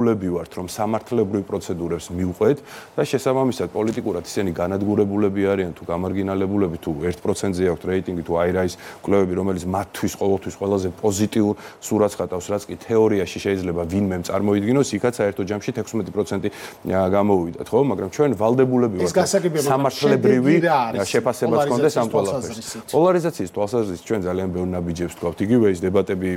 ვართ რომ სამართლებრივ პროცედურებს მივყვეთ და შესაბამისად პოლიტიკურად ისინი განადგურებულები არიან თუ გამარგინალებულები თუ 1%-ზე აქვთ რეიტინგი თუ აი რა ის კვლევები რომელიც მათთვის ყოველთვის ყველაზე პოზიტიურ სურათს ხატავს რაც კი თეორიაში შეიძლება ვინმემ წარმოიდგინოს იქაც საერთო ჯამში 16% გამოვიდათ ხო მაგრამ ჩვენ ვალდებულები ვართ სამართლებრივი შეფასებაც გქონდეს ამ ყველაფერს პოლარიზაციის თვალსაზრისით ჩვენ ძალიან ბევრ ნაბიჯებს ვთქვავთ იგივე ის დებატები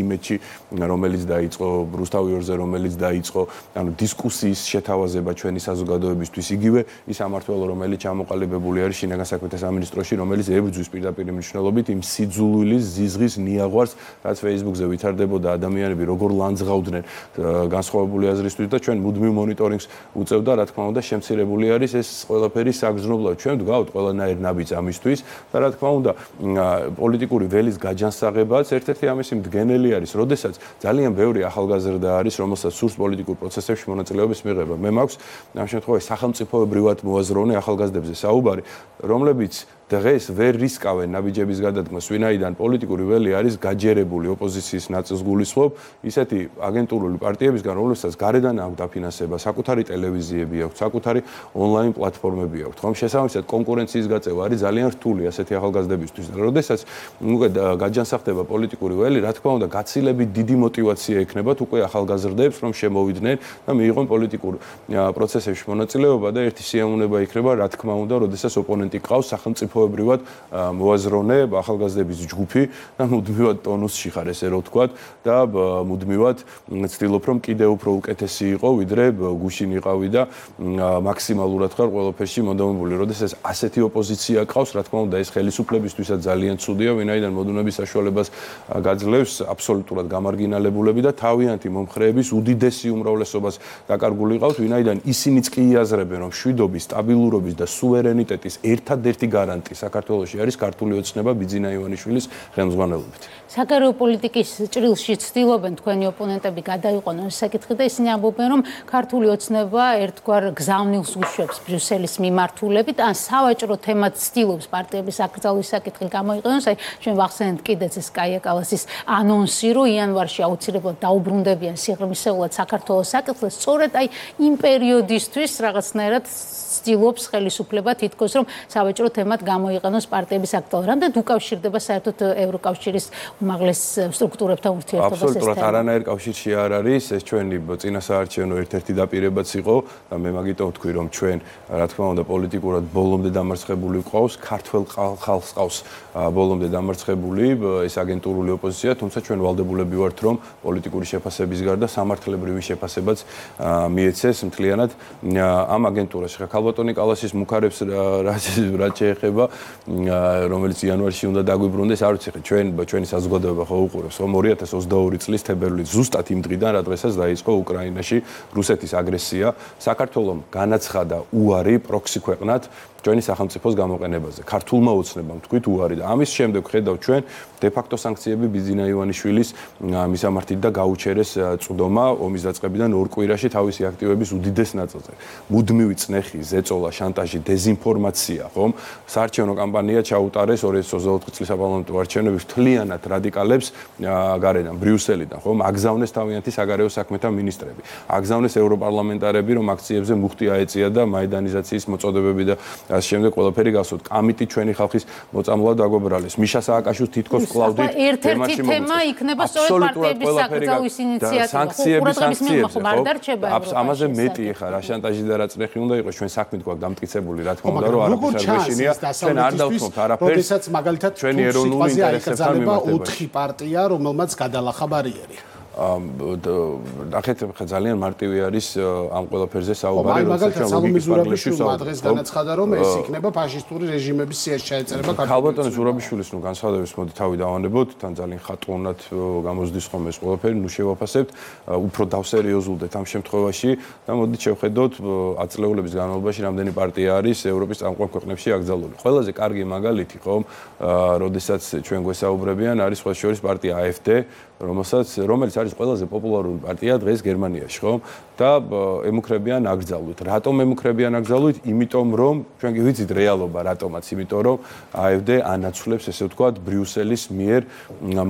იმედში რომელიც დაიწყო რუსთავი ორზე რომელიც დაიწყო ანუ დისკუსიის შეთავაზება ჩვენი საზოგადოებისთვის იგივე ის სამართველო რომელიც ჩამოყალიბებული არის შინაგან საქმეთა სამინისტროში რომელიც ებრძვის პირდაპირ მნიშვნელობით იმ სიძულვილის ზიზღის ნიაღვარს რაც Facebook-ზე ვითარდებოდა ადამიანები როგორ ლანძღავდნენ განსხვავებული აზრისთვის და ჩვენ მუდმივ მონიტორინგს უწევდა რა თქმა უნდა შემცირებული არის ეს ყველაფერი საგრძნობლად ჩვენ ვდგავთ ყველანაირ ნაბიჯს ამისთვის და რა თქმა უნდა პოლიტიკური ველის გაჯანსაღებაც ერთ-ერთი ამისი მდგენელი არის როდესაც ძალიან ბევრი ახალგაზრდა არის რომელსაც სურს პოლიტიკურ პროცესებში მონაწილეობის მიღება. მე მაქვს ამ შემთხვევაში სახელმწიფოებრივად მოაზროვნე ახალგაზრდებზე საუბარი, რომლებიც დღეს ვერ რისკავენ ნაბიჯების გადადგმას, ვინაიდან პოლიტიკური ველი არის გაჯერებული ოპოზიციის ნაწილს გულისხმობ, ისეთი აგენტურული პარტიებისგან, რომლებსაც გარედან აქვს დაფინანსება, საკუთარი ტელევიზიები აქვს, საკუთარი ონლაინ პლატფორმები აქვს. ხომ შესაბამისად კონკურენციის გაწევა არის ძალიან რთული ასეთი ახალგაზრდებისთვის. და როდესაც უკვე გაჯანსაღდება პოლიტიკური ველი, რა თქმა უნდა, გაცილებით დიდი мотиваცია ექნებათ უკვე ახალგაზრდებს, რომ შემოვიდნენ და მიიღონ პოლიტიკურ პროცესებში მონაწილეობა და ერთი სიამოვნება იქნება, რა თქმა უნდა, როდესაც ოპონენტი ყავს სახელმწიფოებრივად მოაზროვნე ახალგაზრდების ჯგუფი და მუდმივად ტონუსში ხარ ესე რო ვთქვათ და მუდმივად ცდილობ რომ კიდევ უფრო უკეთესი იყო ვიდრე გუშინ იყავი და მაქსიმალურად ხარ ყველაფერში მოდომებული. როდესაც ასეთი ოპოზიცია ყავს, რა თქმა უნდა, ეს ხელისუფლებისთვისაც ძალიან ცუდია, ვინაიდან მოდუნების საშუალებას გაძლევს აბსოლუტურად გამარგინალებულები და თავიანთი მომხრეების უდიდესი უმრავლესობას დაკარგული ყავთ, ვინაიდან ისინიც კი იაზრებენ, რომ მშვიდობის, სტაბილურობის და სუვერენიტეტის ერთადერთი გარანტი საქართველოში არის ქართული ოცნება ბიძინა ივანიშვილის ხელმძღვანელობით. საგარეო პოლიტიკის ჭრილში ცდილობენ თქვენი ოპონენტები გადაიყვანონ ეს საკითხი და ისინი ამბობენ, რომ ქართული ოცნება ერთგვარ გზავნილს უშვებს ბრიუსელის მიმართულებით, ან სავაჭრო თემად ცდილობს პარტიების აკრძალვის საკითხი გამოიყენოს. აი ჩვენ ვახსენეთ კიდეც ეს კაია კალასის ანონსი, რომ იანვარში აუცილებლად დაუბრუნდებიან სიღრმისეულად საქართველოს საკითხს, სწორედ აი იმ პერიოდისთვის რაღაცნაირად ცდილობს ხელისუფლება თითქოს რომ სავაჭრო თემად გამოიყენოს პარტიების აკრძალვა. რამდენად უკავშირდება საერთოდ ევროკავშირის უმაღლეს სტრუქტურებთან ურთიერთობას ეს თემა? აბსოლუტურად არანაირ კავშირში არ არის. ეს ჩვენი წინასაარჩევნო ერთ-ერთი დაპირებაც იყო და მე მაგიტომ ვთქვი, რომ ჩვენ რა თქმა უნდა პოლიტიკურად ბოლომდე დამარცხებული ვყავს, ქართველ ხალხს ყავს ბოლომდე დამარცხებული ეს აგენტურული ოპოზიცია, თუმცა ჩვენ ვალდებულები ვართ, რომ პოლიტიკური შეფასების გარდა სამართლებრივი შეფასებაც მიეცეს მთლიანად ამ აგენტურაში. ქალბატონი კალასის მუქარებს რაც შეეხება, რომელიც იანვარში უნდა დაგვიბრუნდეს, არ ვიცი, ჩვენი საზოგადოება ხო უყურებს, რომ 2022 წლის თებერვლის ზუსტად იმ დღიდან, რა დღესაც დაიწყო უკრაინაში რუსეთის აგრესია, საქართველომ განაცხადა უარი პროქსი ქვეყნად ჩვენი სახელმწიფოს გამოყენებაზე. ქართულმა ოცნებამ თქვით უარი და ამის შემდეგ ხედავთ ჩვენ დე-ფაქტო სანქციები ბიძინა ივანიშვილის მისამართით და გაუჩერეს წვდომა ომის დაწყებიდან 2 კვირაში თავისი აქტივების უდიდეს ნაწილზე. მუდმივი წნეხი, ზეწოლა, შანტაჟი, დეზინფორმაცია, ხომ? საარჩევნო კამპანია ჩაუტარეს 2024 წლის საპარლამენტო არჩევნების მთლიანად რადიკალებს გარედან, ბრიუსელიდან, ხომ? აგზავნეს თავიანთი საგარეო საქმეთა მინისტრები. აგზავნეს ევროპარლამენტარები, რომ აქციებზე მუხტი აეწია და მაიდანიზაციის მოწოდებები და ასე შემდეგ ყველაფერი გასვოთ. კამიტი ჩვენი ხალხის მოწამლად დაგვებრალეს. მიშა სააკაშვილს თითქოს კლავდით. ერთ-ერთი თემა იქნება სწორედ პარტიების აკრძალვის ინიციატივა. სანქციები არ დარჩება. ამაზე მეტი ხარ, რა შანტაჟი და რა წნეხი უნდა იყოს, ჩვენ საქმით გვაქვს დამტკიცებული, რა თქმა უნდა, რომ არაფერს არ გვეშინია. ჩვენ არ დავთხოვთ არაფერს. როდესაც მაგალითად ჩვენი ეროვნული ინტერესებთან მიმართება. 4 პარტია, რომელმაც გადალახა ბარიერი. ნახეთ, ძალიან მარტივი არის ამ ყველაფერზე საუბარი, როდესაც სალომე ზურაბიშვილმა დღეს განაცხადა, რომ ეს იქნება ფაშისტური რეჟიმების სიაში ჩაეწერება საქართველოს. ქალბატონი ზურაბიშვილის განცხადების მოდი თავი დავანებოთ, თან ძალიან ხატოვნად გამოსდის ხომ ეს ყველაფერი, შევაფასებთ, უფრო დავსერიოზულდეთ ამ შემთხვევაში და მოდით შევხედოთ ათწლეულების განმავლობაში რამდენი პარტია არის ევროპის წამყვან ქვეყნებში აკრძალული. ყველაზე კარგი მაგალითი ხომ, როდესაც ჩვენ გვესაუბრებიან, არის სხვა შორის პარტია AfD, რომელიც არის ყველაზე პოპულარული პარტია დღეს გერმანიაში, ხო? და ემუქრებიან აკრძალვით. რატომ ემუქრებიან აკრძალვით? იმიტომ რომ ჩვენ კი ვიცით რეალობა რატომაც, იმიტომ რომ AfD ანაცვლებს, ესე ვთქვათ, ბრიუსელის მიერ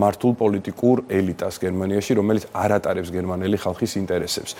მართულ პოლიტიკურ ელიტას გერმანიაში, რომელიც არ ატარებს გერმანელი ხალხის ინტერესებს.